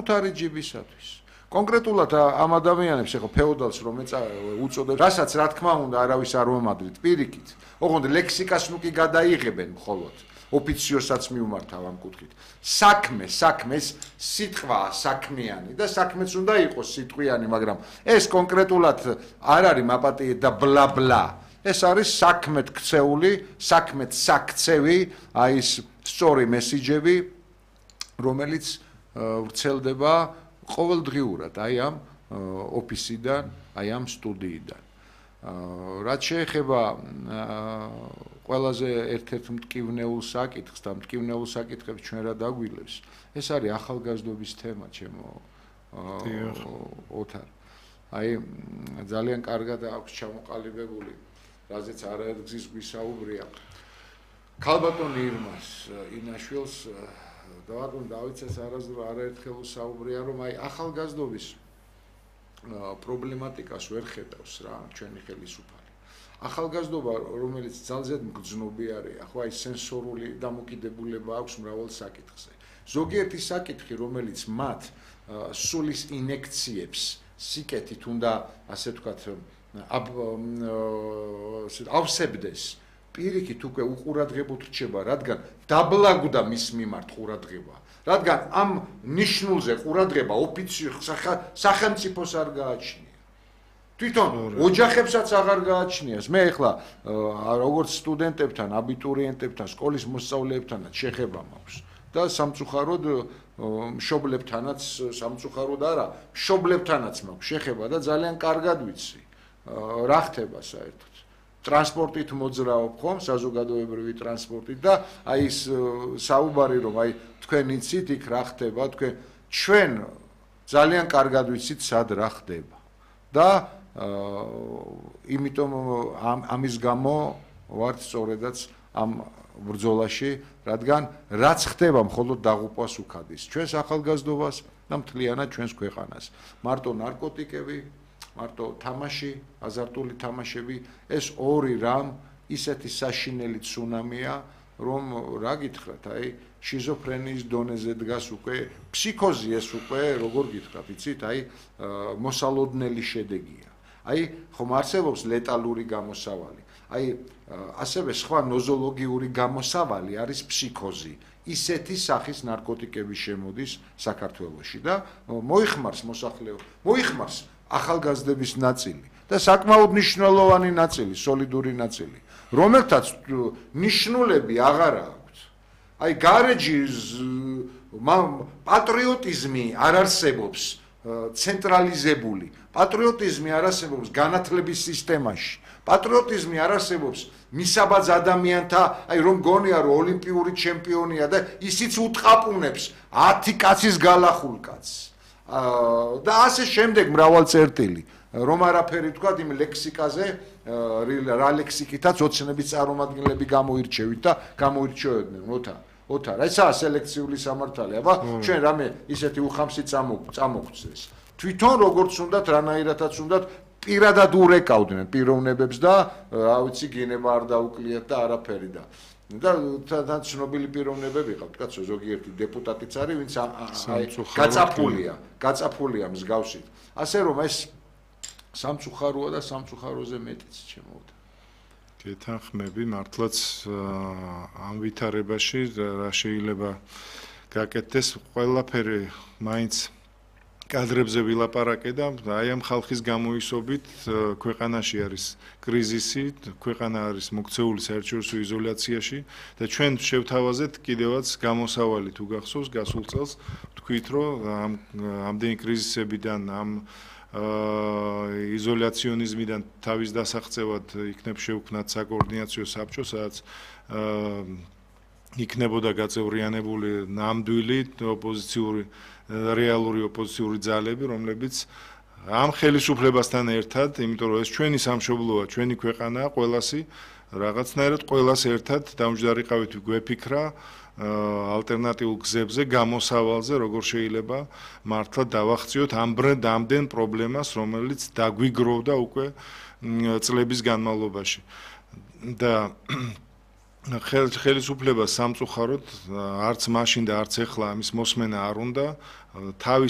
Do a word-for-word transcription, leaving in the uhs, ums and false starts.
საკუთარი ჯიბისათვის. კონკრეტულად ამ ადამიანებს ეხლა ფეოდალს რომ უწოდებს, რასაც რა თქმა უნდა არავის არ მომადრით პირიქით. ოღონდ ლექსიკას ნუ კი გადაიღებენ მხოლოდ. ოფიციოსაც მიუმართავ ამ კუთხით. საქმე, საქმეს სიტყვაა საქმიანი და საქმეც უნდა იყოს სიტყვიანი, მაგრამ ეს კონკრეტულად არ არის მაპატიე და ბლა ბლა. ეს არის საქმეთ ქცეული, საქმეთ საქცევი, აი ეს სწორი მესიჯები, რომელიც ვრცელდება ყოველდღიურად აი ამ ოფისიდან, აი ამ სტუდიიდან. რაც შეეხება ყველაზე ერთ-ერთ მტკივნეულ საკითხს და მტკივნეულ საკითხებს ჩვენ რა დაგვილევს, ეს არის ახალგაზრდობის თემა, ჩემო ოთარ. აი ძალიან კარგად აქვს ჩამოყალიბებული, რაზეც არაერთგზის გვისაუბრია. ქალბატონი ირმას ინაშვილს დავარქვა დავიცეს არაერთხელ საუბრია, რომ აი ახალგაზრდობის პრობლემატიკას ვერ ხედავს რა ჩვენი ხელისუფალი. ახალგაზრდობა, რომელიც ძალზედ მგრძნობი არის, ახლა აი სენსორული დამოკიდებულება აქვს მრავალ საკითხზე. ზოგიერთი საკითხი, რომელიც მათ სულის ინექციებს სიკეთით უნდა, ასე ვთქვათ, ავსებდეს, პირიქით უკვე უყურადღებოდ რჩება, რადგან დაბლაგდა მის მიმართ ყურადღება. რადგან ამ ნიშნულზე ყურადღება ოფიციურ სახელმწიფოს არ გააჩნია. თვითონ ოჯახებსაც აღარ გააჩნიას. მე ახლა როგორც სტუდენტებთან, აბიტურიენტებთან, სკოლის მოსწავლეებთანაც შეხება მაქვს და სამწუხაროდ მშობლებთანაც, სამწუხაროდ არა, მშობლებთანაც მაქვს შეხება და ძალიან კარგად ვიცი რა ხდება საერთოდ. ტრანსპორტით მოძრაობ ხომ, საზოგადოებრივი ტრანსპორტით და აი ეს საუბარი რომ აი თქვენ იცით იქ რა ხდება, თქვენ ჩვენ ძალიან კარგად ვიცით სად რა ხდება. და იმიტომ ამის გამო ვართ სწორედაც ამ ბრძოლაში, რადგან რაც ხდება მხოლოდ დაღუპვას უქადის ჩვენს ახალგაზრდობას და მთლიანად ჩვენს ქვეყანას. მარტო ნარკოტიკები, მარტო თამაში, აზარტული თამაშები, ეს ორი რამ ისეთი საშინელი ცუნამია, რომ რა გითხრათ, აი შიზოფრენიის დონეზე დგას უკვე, ფსიქოზი ეს უკვე, როგორ გითხრათ, იცით, აი მოსალოდნელი შედეგია. აი ხომ არსებობს ლეტალური გამოსავალი. აი ასევე სხვა ნოზოლოგიური გამოსავალი არის ფსიქოზი. ისეთი სახის ნარკოტიკები შემოდის საქართველოში და მოიხმარს მოსახლეობა, მოიხმარს ახალგაზრდების ნაწილი და საკმაოდ მნიშვნელოვანი ნაწილი, სოლიდური ნაწილი, რომელთაც ნიშნულები აღარ აქვს. აი გარეჯის პატრიოტიზმი არ არსებობს ცენტრალიზებული. პატრიოტიზმი არ არსებობს განათლების სისტემაში. პატრიოტიზმი არ არსებობს მისაბაძ ადამიანთა, აი რომ გონია რომ ოლიმპიური ჩემპიონია და ისიც უტყაპუნებს ათი კაცის გალახულ კაცს. და ასე შემდეგ მრავალ წერტილი. რომ არაფერი თქვა იმ ლექსიკაზე, რა ლექსიკითაც ოცნების წარმომადგენლები გამოირჩევით და გამოირჩევდნენ, ოთარ. ოთარ, ესაა სელექციული სამართალი, აბა ჩვენ რამე ისეთი უხამსი წამოგვწეს. თვითონ როგორც უნდათ, რანაირადაც უნდათ პირადად ურეკავდნენ პიროვნებებს და რა ვიცი გენება არ დაუკლიათ და არაფერი და და თან ცნობილი პიროვნებები ყავთ, კაცო, ზოგიერთი დეპუტატიც არის, ვინც გაწაფულია, გაწაფულია მსგავსით. ასე რომ ეს სამწუხაროა და სამწუხაროზე მეტიც ჩემოუდა. გეთანხმები, მართლაც ამ ვითარებაში რა შეიძლება გაკეთდეს, ყველაფერი მაინც კადრებზე ვილაპარაკე და აი ამ ხალხის გამოისობით ქვეყანაში არის კრიზისი, ქვეყანა არის მოქცეული საერთაშორისო იზოლაციაში და ჩვენ შევთავაზეთ კიდევაც გამოსავალი თუ გახსოვს გასულ წელს ვთქვით რომ ამ ამდენი კრიზისებიდან ამ იზოლაციონიზმიდან თავის დასაღწევად იქნებ შევქმნათ საკოორდინაციო საბჭო, სადაც იქნებოდა გაწევრიანებული ნამდვილი ოპოზიციური რეალური ოპოზიციური ძალები, რომლებიც ამ ხელისუფლებასთან ერთად, იმიტომ რომ ეს ჩვენი სამშობლოა, ჩვენი ქვეყანაა, ყველასი რაღაცნაირად ყველას ერთად დამჯდარიყავით გვეფიქრა ალტერნატიულ გზებზე, გამოსავალზე, როგორ შეიძლება მართლა დავახციოთ ამ ამდენ პრობლემას, რომელიც დაგვიგროვდა უკვე წლების განმავლობაში. და ხელისუფლებას სამწუხაროდ არც მაშინ და არც ახლა ამის მოსმენა არ უნდა, თავის